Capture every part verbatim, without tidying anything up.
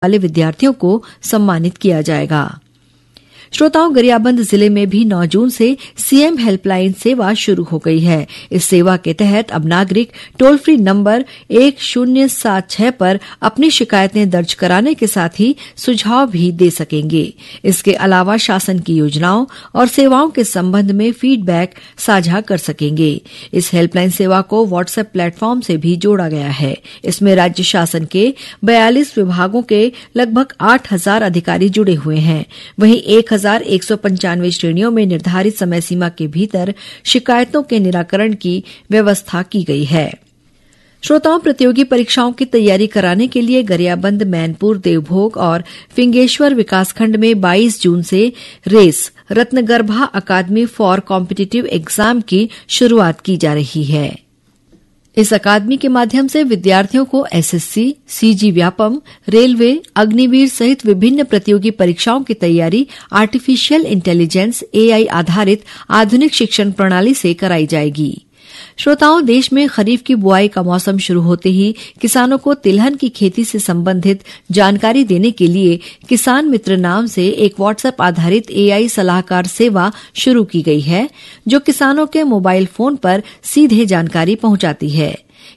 वाले विद्यार्थियों को सम्मानित किया जाएगा। श्रोताओं, गरियाबंद जिले में भी नौ जून से सीएम हेल्पलाइन सेवा शुरू हो गई है। इस सेवा के तहत अब नागरिक टोल फ्री नंबर एक शून्य सात छह पर अपनी शिकायतें दर्ज कराने के साथ ही सुझाव भी दे सकेंगे। इसके अलावा शासन की योजनाओं और सेवाओं के संबंध में फीडबैक साझा कर सकेंगे। इस हेल्पलाइन सेवा को WhatsApp प्लेटफॉर्म से भी जोड़ा गया है। इसमें राज्य शासन के बयालीस विभागों के लगभग आठ हज़ार अधिकारी जुड़े हुए हैं। वहीं एक हज़ार एक सौ पंचानवे श्रेणियों में निर्धारित समय सीमा के भीतर शिकायतों के निराकरण की व्यवस्था की गई है। श्रोताओं, प्रतियोगी परीक्षाओं की तैयारी कराने के लिए गरियाबंद, मैनपुर, देवभोग और फिंगेश्वर विकासखंड में बाईस जून से रेस रत्नगर्भा अकादमी फॉर कॉम्पिटिटिव एग्जाम की शुरुआत की जा रही है। इस अकादमी के माध्यम से विद्यार्थियों को SSC, CG Vyapam, railway, Agniveer सहित विभिन्न प्रतियोगी परीक्षाओं की तैयारी आर्टिफिशियल इंटेलिजेंस, एआई आधारित आधुनिक शिक्षण प्रणाली से कराई जाएगी। श्रोताओं, देश में खरीफ की बुआई का मौसम शुरू होते ही किसानों को तिलहन की खेती से संबंधित जानकारी देने के लिए किसान मित्र नाम से एक WhatsApp आधारित एआई सलाहकार सेवा शुरू की गई है, जो किसानों के मोबाइल फोन पर सीधे जानकारी पहुंचाती है।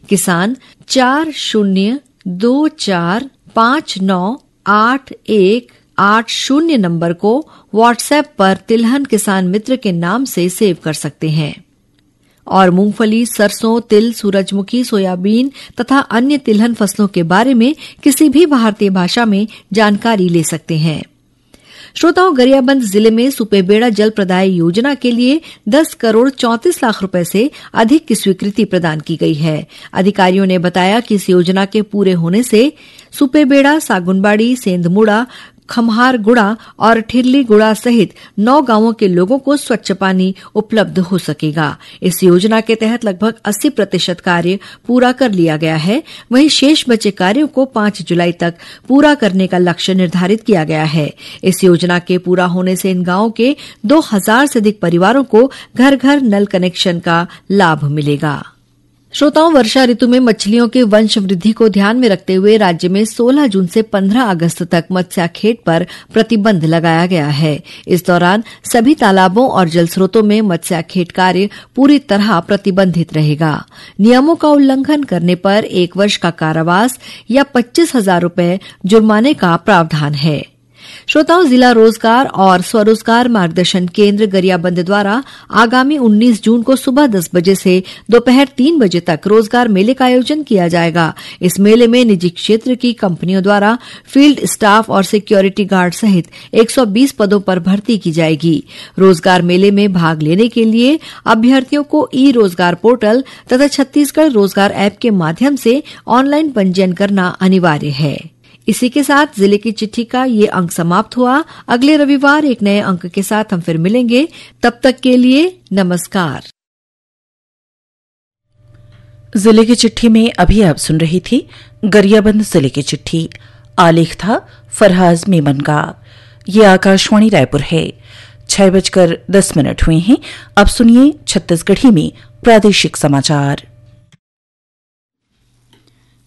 किसान चार शून्य दो चार पाँच नौ आठ एक आठ शून्य नंबर को WhatsApp पर तिलहन किसान मित्र के नाम से सेव कर सकते हैं। और मूंगफली, सरसों, तिल, सूरजमुखी, सोयाबीन तथा अन्य तिलहन फसलों के बारे में किसी भी भारतीय भाषा में जानकारी ले सकते हैं। श्रोताओं, गरियाबंद जिले में सुपेबेड़ा जल प्रदाय योजना के लिए दस करोड़ चौंतीस लाख रुपए से अधिक की स्वीकृति प्रदान की गई है। अधिकारियों ने बताया कि इस योजना के पूरे होने से सुपेबेड़ा, सागुनबाड़ी, सेंधमुड़ा, खम्हारगुड़ा और ठिरलीगुड़ा सहित नौ गांवों के लोगों को स्वच्छ पानी उपलब्ध हो सकेगा। इस योजना के तहत लगभग अस्सी प्रतिशत कार्य पूरा कर लिया गया है। वहीं शेष बचे कार्यों को पाँच जुलाई तक पूरा करने का लक्ष्य निर्धारित किया गया है। इस योजना के पूरा होने से इन गांवों के दो हज़ार से अधिक परिवारों को घर घर नल कनेक्शन का लाभ मिलेगा। श्रोताओं, वर्षा ऋतु में मछलियों के वंश वृद्धि को ध्यान में रखते हुए राज्य में सोलह जून से पन्द्रह अगस्त तक मत्स्याखेट पर प्रतिबंध लगाया गया है। इस दौरान सभी तालाबों और जल स्रोतों में मत्स्याखेट कार्य पूरी तरह प्रतिबंधित रहेगा। नियमों का उल्लंघन करने पर एक वर्ष का कारावास या पच्चीस हज़ार रुपए जुर्माने का प्रावधान है। श्रोताओं, जिला रोजगार और स्वरोजगार मार्गदर्शन केंद्र गरियाबंद द्वारा आगामी उन्नीस जून को सुबह दस बजे से दोपहर तीन बजे तक रोजगार मेले का आयोजन किया जाएगा। इस मेले में निजी क्षेत्र की कंपनियों द्वारा फील्ड स्टाफ और सिक्योरिटी गार्ड सहित एक सौ बीस पदों पर भर्ती की जाएगी। रोजगार मेले में भाग लेने के लिए अभ्यर्थियों को ई रोजगार पोर्टल तथा छत्तीसगढ़ रोजगार ऐप के माध्यम से ऑनलाइन पंजीयन करना अनिवार्य है। इसी के साथ जिले की चिट्ठी का ये अंक समाप्त हुआ। अगले रविवार एक नए अंक के साथ हम फिर मिलेंगे। तब तक के लिए नमस्कार। जिले की चिट्ठी में अभी आप सुन रही थी गरियाबंद जिले की चिट्ठी। आलेख था फरहाज मेमन का। ये आकाशवाणी रायपुर है। छह बजकर दस मिनट हुए हैं। अब सुनिए छत्तीसगढ़ी में प्रादेशिक समाचार।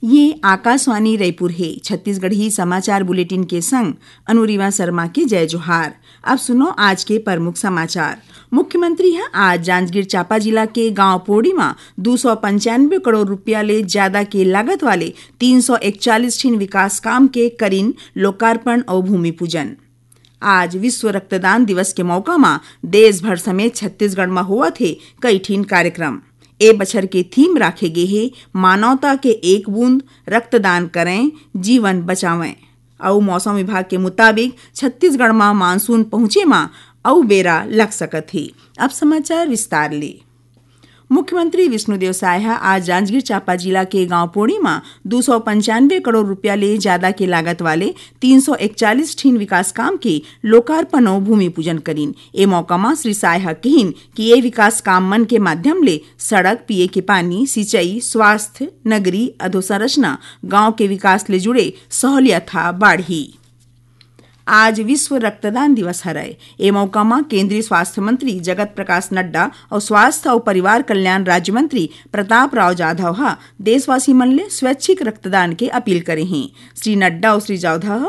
ये आकाशवाणी रायपुर हे। छत्तीसगढ़ी समाचार बुलेटिन के संग अनुरिमा शर्मा के जय जोहार। अब सुनो आज के प्रमुख समाचार। मुख्यमंत्री ह आज जांजगीर चांपा जिला के गांव पोड़ी म दू सौ पंचानवे करोड़ रुपया ले ज्यादा के लागत वाले तीन सौ इकतालीस ठिन विकास काम के करिन लोकार्पण अउ भूमि पूजन। आज विश्व रक्तदान दिवस के मौका म देश भर समेत छत्तीसगढ़ म होवत हे कई ठिन कार्यक्रम। ए बछर के थीम राखे गे हे, मानवता के एक बूंद रक्तदान करें, जीवन बचावें। अउ मौसम विभाग के मुताबिक छत्तीसगढ़ म मानसून पहुंचे म अउ बेरा लग सकत हे। अब समाचार विस्तार ले। मुख्यमंत्री विष्णुदेव साय ह आज जांजगीर चांपा जिला के गांव पोड़ी म दू सौ पंचानवे करोड़ रुपया ले जादा के लागत वाले तीन सौ इकतालीस ठिन विकास काम के लोकार्पण अउ भूमि पूजन करिन। ए मौका म श्री साय ह किहिन कि ए विकास काम मन के माध्यम ले सड़क, पीए के पानी, सिंचाई, स्वास्थ्य, नगरीय अधोसंरचना, गांव के विकास ले जुड़े सहूलियत ह बाढ़ही। आज विश्व रक्तदान दिवस हरय। ए मौका म केंद्रीय स्वास्थ्य मंत्री जगत प्रकाश नड्डा अउ स्वास्थ्य अउ परिवार कल्याण राज्य मंत्री प्रताप राव जाधव ह देशवासी मन ले स्वैच्छिक रक्तदान के अपील करे हें। श्री नड्डा अउ श्री जाधव ह